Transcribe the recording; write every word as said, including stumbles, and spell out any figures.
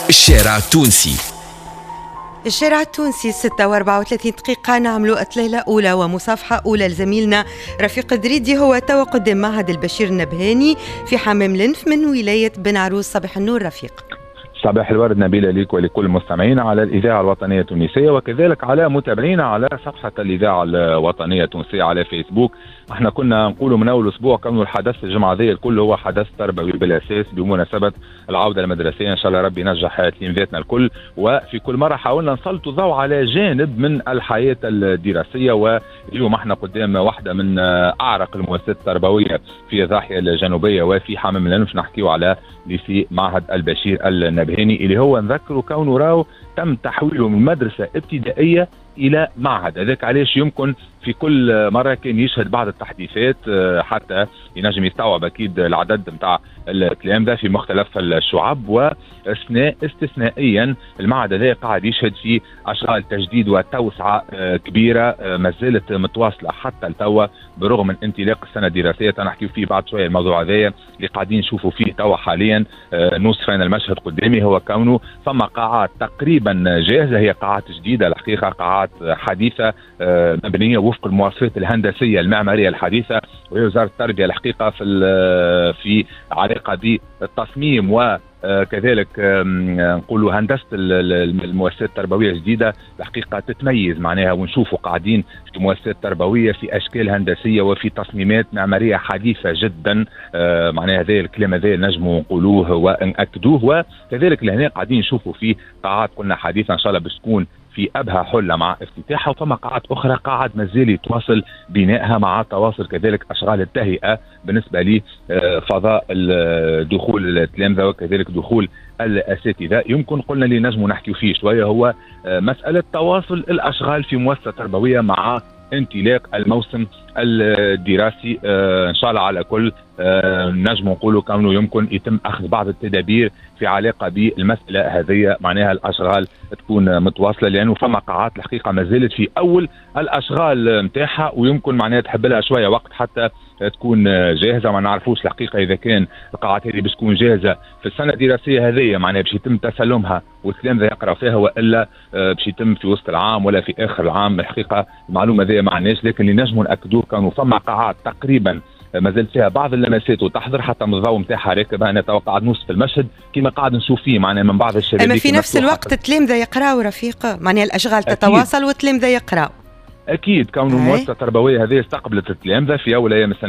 الشارع التونسي. الشارع التونسي، ستة وأربعة وثلاثين دقيقة. نعملوا إطلالة أولى ومصافحة أولى لزميلنا رفيق دريدي، هو توا قدام معهد البشير النبهاني في حمام لنف من ولاية بن عروس. صباح النور رفيق. صباح الورد نبيلة، لك ولكل المستمعين على الإذاعة الوطنية التونسية وكذلك على متابعينا على صفحة الإذاعة الوطنية التونسية على فيسبوك. احنا كنا نقولوا من أول أسبوع كونه الحدث الجمعة ذي الكل هو حدث تربوي بالأساس بمناسبة العودة المدرسية، إن شاء الله ربي ينجح تلامذتنا الكل. وفي كل مرة حاولنا نسلطوا الضوء على جانب من الحياة الدراسية، واليوم احنا قدام واحدة من أعرق المؤسسات التربوية في الضاحية الجنوبية وفي حمام الأنف، نحكيو على lycée معهد البشير النبهاني اللي هو نذكره كونه راهو تم تحويله من مدرسة ابتدائية إلى معهد. هذاك علاش يمكن في كل مرة كان يشهد بعض التحديثات آه، حتى ينجم يستوعب أكيد العدد نتاع التلامذة في مختلف الشعب. واثناء استثنائيا المعهد هذا قاعد يشهد في أشغال تجديد وتوسعة آه، كبيرة آه، ما زالت متواصلة حتى التوا برغم من انطلاق السنة الدراسية. نحكي فيه بعد شوية الموضوع هذايا اللي قاعدين نشوفوا فيه توا حاليا. نوصف أنا المشهد قدامي هو كونه فما قاعات تقريبا جاهزة، هي قاعات جديدة الحقيقة، قاعات حديثة مبنية وفق المواصفات الهندسية المعمارية الحديثة، وهي وزارة التربية الحقيقة في في علاقة بالتصميم وكذلك نقولوا هندسة المؤسسات التربوية الجديدة الحقيقة تتميز معناها، ونشوفوا قاعدين في مؤسسات تربوية في اشكال هندسية وفي تصميمات معمارية حديثه جدا. آه، معناها هذا الكلام هذا نجموا نقولوه ونأكدوه. وكذلك لهنا قاعدين نشوفوا في قاعات قلنا حديثه ان شاء الله باش تكون في ابهى حله مع افتتاحها، وفما قاعات اخرى قاعد مازال يتواصل بنائها مع تواصل كذلك اشغال التهيئه بالنسبة لفضاء دخول التلامذه وكذلك دخول الاساتذه. يمكن قلنا اللي نجموا نحكي فيه شوية هو آه، مسالة تواصل الاشغال في مؤسسة تربوية مع انطلاق الموسم الدراسي. آه، ان شاء الله على كل آه، نجم نقولوا كونه يمكن يتم اخذ بعض التدابير في علاقة بالمسالة هذه، معناها الاشغال تكون متواصلة لانه فما قاعات الحقيقة ما زالت في اول الاشغال نتاعها، ويمكن معناها تحب لها شوية وقت حتى تكون جاهزه. ما نعرفوش الحقيقة اذا كان القاعات هذه باش تكون جاهزة في السنة الدراسية هذه، معناها باش يتم تسلمها والتلامذه يقرا فيها، والا آه، باش يتم في وسط العام ولا في اخر العام. الحقيقة المعلومة هذه ما عندناش، لكن اللي نجموا ناكدوه كانوا فما قاعات تقريبا ما زالت فيها بعض اللمسات وتحضر، حتى من الضوء نتاعها راكب. انا تو قاعد نوصف المشهد كما قاعد نشوف فيه معناها من بعض الشبابيك. اما في نفس الوقت التلامذه يقراوا رفيق، معناها الاشغال تتواصل والتلامذه يقراوا. اكيد، كون المؤسسة التربوية هذه استقبلت التلامذه في اول ايام السنة.